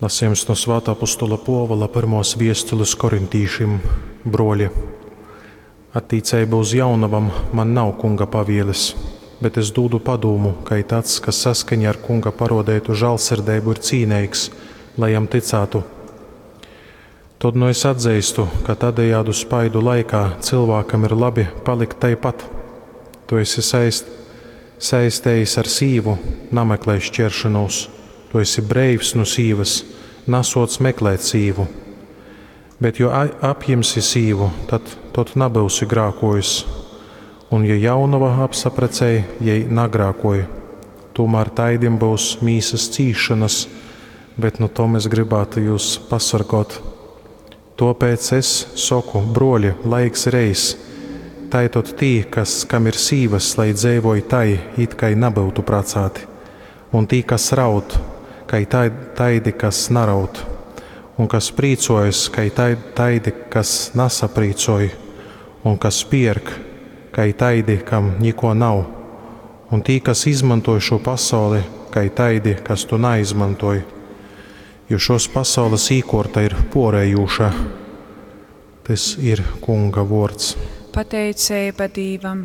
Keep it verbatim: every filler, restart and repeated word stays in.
Lasījums no Svātā apostola Pōvula pyrmōs viestules korintīšim. Bruoļi, attīceibā uz jaunovom man nav Kunga pavieles, bet es dūdu padūmu, kai tāds, kas saskaņā ar Kunga paruodeitu žālsirdeibu ir cīneigs, lai jam tycātu. Tod nu es atzeistu, ka tādejādu spaidu laikā cylvākam ir labi palikt taipat. Tu esi saist, saistējis ar sīvu, nameklē šķeršanos. Tu esi breivs nu sīvas, nasuoc meklēt sīvu. Bet jo apjimsi sīvu, tad, tad nabyusi grākojis. Un ja jaunova apsaprecej, jei nagrākoj. Tūmēr taidim būs mīsas cīšanas, bet nu tom es gribētu jūs pasorgot. Tōpēc es soku, bruoļi, laiks ir eiss. Tai tod tī, kas, kam ir sīvas, lai dzeivoj tai, it kai nabyutu pracāti. Un tī, kas raud, kai taidi, kas naraud. Un kas prīcojas, kai taidi, kas nasaprīcoj. Un kas pierk, kai taidi, kam nikuo nav. Un tī, kas izmantoj šo pasauli, kai taidi, kas to naizmantoj. Jo šos pasaules īkuorta ir puorejūša. Tys ir Kunga vuords. Pateiceiba Dīvam.